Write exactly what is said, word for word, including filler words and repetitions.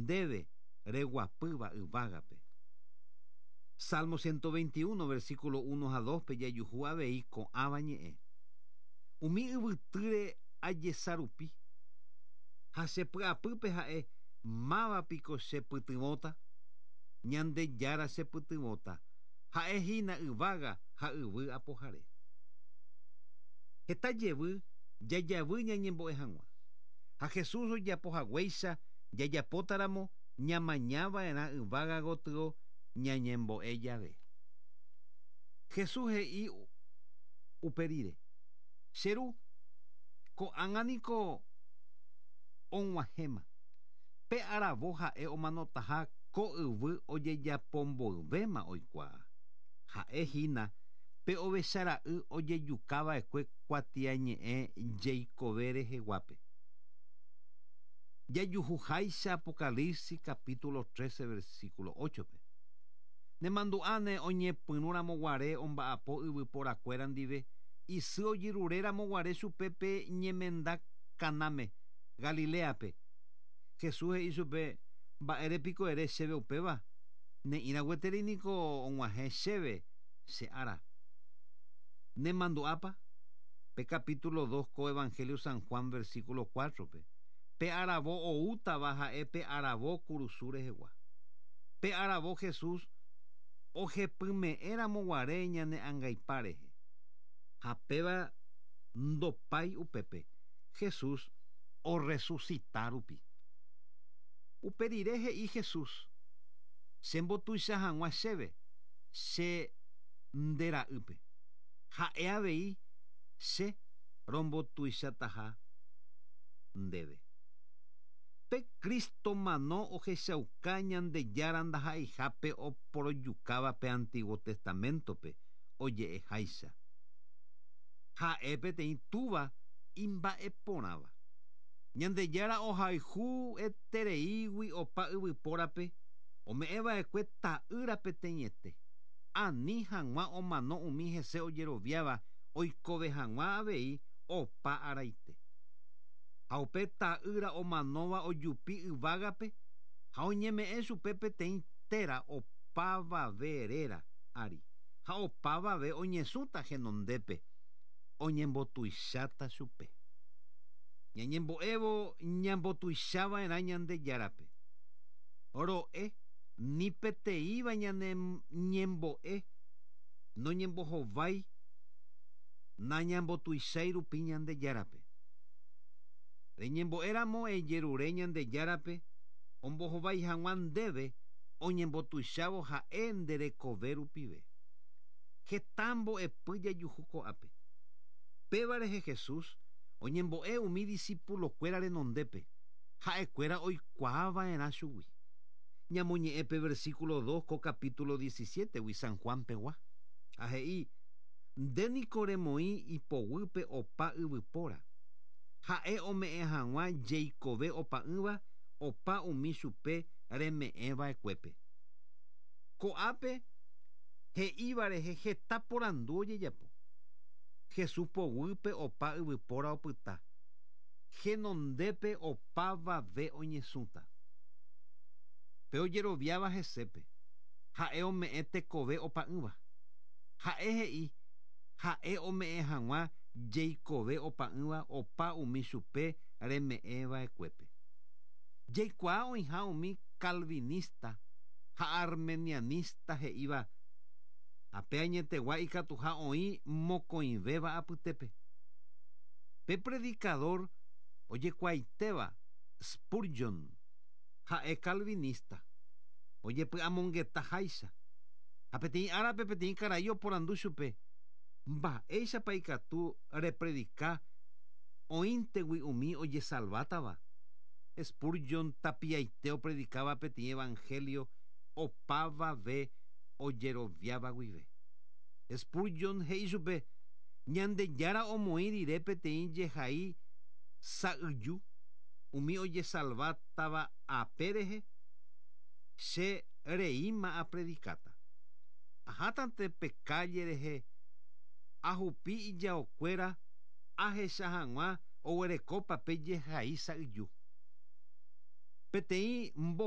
Ndéve reguapýva yvágape. Salmo ciento veintiuno, versículo uno ha dos pe jajuhu avei ko'ãva ñe'ẽ. Umi yvytýre ajesarupi ha chepy'apýpe ha'e mávapiko chepytyvõta, Ñandejára chepytyvõta, ha'ehína yvága ha yvy apohare. Heta jevy jajavy ñañembo'e hag̃ua. Ha Jesús ojapohaguéicha jajapótaramo ñamañava'erã yvága gotyo ñañembo'e jave. Jesús he'i upe rire. Che ru, ko'ág̃a niko og̃uahẽma. Pe aravo ha'e omanotaha ko yvy ojejapomboyvéma oikuaa. Ha'ehína pe ovechara'y ojejukava'ekue kuatiañe'ẽ jeikove reheguápe. Jajuhuháicha Apocalipsis capítulo trece versículo ocho pe. Nemandu'áne oñepyrũramoguare omba'apo yvyporakuéra ndive isy ojerureramoguare chupe pe ñemenda Canáme, Galileape. Jesús he'i chupe mba'érepiko ere chéve upéva ne'ĩragueteri niko og̃uahẽ chéve che ára. Nemandu'ápa pe capítulo dos ko Evangelio San Juan versículo cuatro pe. Pe aravo oútava ha'e pe aravo kurusu rehegua. Pe aravo Jesús ohepyme'ẽramoguare ñane angaipa rehe. Ha péva ndopái upépe Jesús orresucita rupi. Upe rire he'i Jesús chembotuicha hag̃ua chéve che ndera'ýpe. Ha'e avei che rombotuichataha ndéve. Pe Cristo mano ohechauka Ñandejára ndaha'eihápe oporojukáva pe Antiguo Testamentope oje'eháicha. Ha'e peteĩ túva imba'eporãva. Ñandejára ohayhu etereígui opa yvypórape ome'ẽva'ekue ta'ýra peteĩete. Ani hag̃ua omano umi hese ojeroviáva oikove hag̃ua avei opa araite. Ha upe ta'ýra omanóva ojupi yvágape ha oñeme'ẽ chupe peteĩ téra opavave réra ári. Ha opavave oñesũta henondépe oñembotuicháta chupe. Ñañembo'évo ñambotuichava'erã Ñandejárape. Ro'e ni peteĩva ñane ñembo'e noñembohovái nañambotuichái rupi Ñandejárape. Reñembo'éramo ejerure Ñandejárape ombohovái hag̃ua ndéve oñembotuichávo ha'e nderekove rupive. Heta mbo'epy jajuhu ko'ápe. Péva rehe Jesús oñembo'e umi discípulokuéra renondépe ha'ekuéra oikuaava'erã chugui. Ñamoñe'ẽ pe versículo dos ko capítulo diecisiete gui San Juan pegua. Ha he'i nde niko remoĩ ipoguýpe opa yvypóra. Ha'e ome'ẽ hag̃ua jeikove opa'ỹva opa umi chupe reme'ẽva'ekuépe. Ko'ápe he'íva rehe heta porandu ojejapo. Jesús poguýpe opa yvypóra opyta. Henondépe opavave oñesũta. Pe ojeroviáva hesépe. Ha'e ome'ẽ tekove opa'ỹva. Ha'e he'i ha'e ome'ẽ hag̃ua jeikove opa'ỹva opa umi chupe reme'ẽva'ekuépe. Jaikuaa oĩha umi calvinista ha armenianista he'íva ape añetegua ikatuha oĩ mokõivéva apytépe. Pe predicador ojekuaaitéva Spurgeon ha'e calvinista ojepy'amongetaháicha. Ha peteĩ árape peteĩ karai oporandu chupe mba'éichapa ikatu repredika oĩntegui umi ojesalvátava. Spurgeon tapiaite opredicaba peteĩ evangelio opavave ojeroviáva guive. Spurgeon he'i chupe Ñandejára omoĩ rire peteĩ jehai sa'yju umi ojesalvátava ape rehe che reíma apredikáta. Ahátante pe calle rehe ahupi ijaokuéra ahecha hag̃ua oguerekópa pe jehai sa'yju. Peteĩ mbo